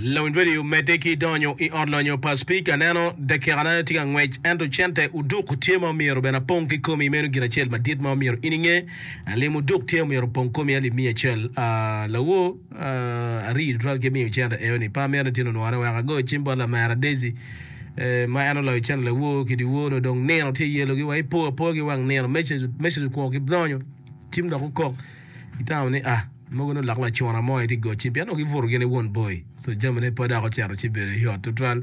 Lawiny radio medde ki donyo i ot lonyo pa spika neno dakikane tye ka ngwec ento cente oduk tye ma omyero bene apong ki komi meno gin acel madit ma omyero in inge lim oduk tye omyero opong komi alip miya acel lawor arii tutwal ki miyo cente eo ni pe amito ni tin onwore wek ago cim bot lamera Daisy ma en oloyo cente lawor ki dyewor nongo dong nino tye yelogi wa ipo apoya ki wang nino message okwo ki donyo cim dok okok itamo ni ah Mogo nongo lok lacuna mo aye tye goc cim pien nongo gibuto gin i won boi so jamine pe dok ocito ci bedo yot tutwal.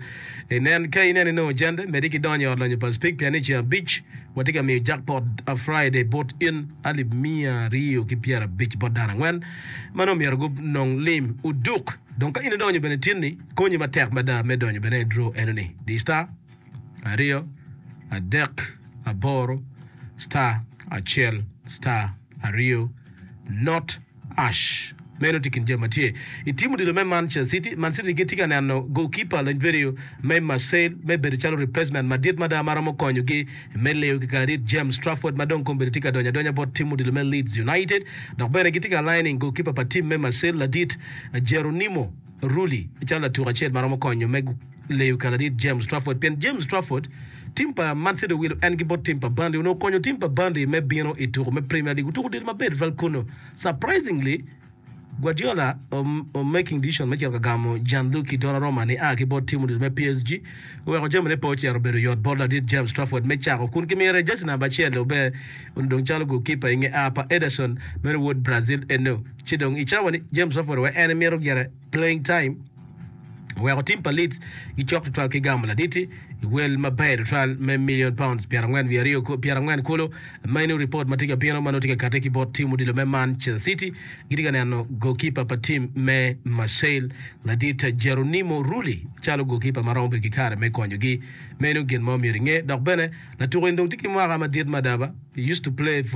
Inen ka ineno inongo cente medde ki donyo i ot lonyo pa Speke pien ni ceng abic watye ka miyo jackpot a Friday bot in alip 250 bot dano angwen ma nongo myero gunong lim oduk. Dong ka in idonyo bene tinni konyi matek mada me donyo bene i draw enoni di star aryo adek aboro star acel star aryo Not Ash. Meno tye i kin jami ma tye i tim odilo me Manchester City. Man City gitye ka neno goalkeeper Lanyverio me Marseille me bedo calo replacement madit mada ma romo konyogi me leyo ki kaladit James Trafford ma dong kombeddi tye ka donyo adonya bot tim odilo me Leeds United. Dok bene gitye ka lining goalkeeper pa tim me Marseille ladit Geronimo Rulli calo latuk acel ma romo konyo me leyo ka ladit James Trafford pien James Trafford tim pa Man City owilo en ki bot tim pa Burnley onongo okonyo tim pa Burnley me bino i tuko me Premier League otuko odilo maber tutwal kunu. Surprisingly Guardiola o making decision me cito ka gamo Gianluigi Donnarumma nia ki bot tim odilo me PSG oweko jamine pe ocito obedo yot bot ladit James Trafford me cako kun kimire jersey namba acel ober onongo dong calo goalkeeper inge a pa Ederson meno wod Brazil eno ci dong i cawa ni James Trafford wek en emito gire playing time oweko tim pa Leeds gicok tutwal ki gamo ladit-ti i wel maber tutwal me million pounds 42 kulu. Meno ripot ma tye ka bino ma nongo tye ka kati ki bot tim odilo me Manchester City gitye ka neno goalkeeper pa tim me Marseille ladit Geronimo Rulli calo goalkeeper ma romo bedo ki kare me konyogi. Meno gin ma omyero inge. Dok bene latuko eni dong tye ki mwaka madit mada ba. He used to play for.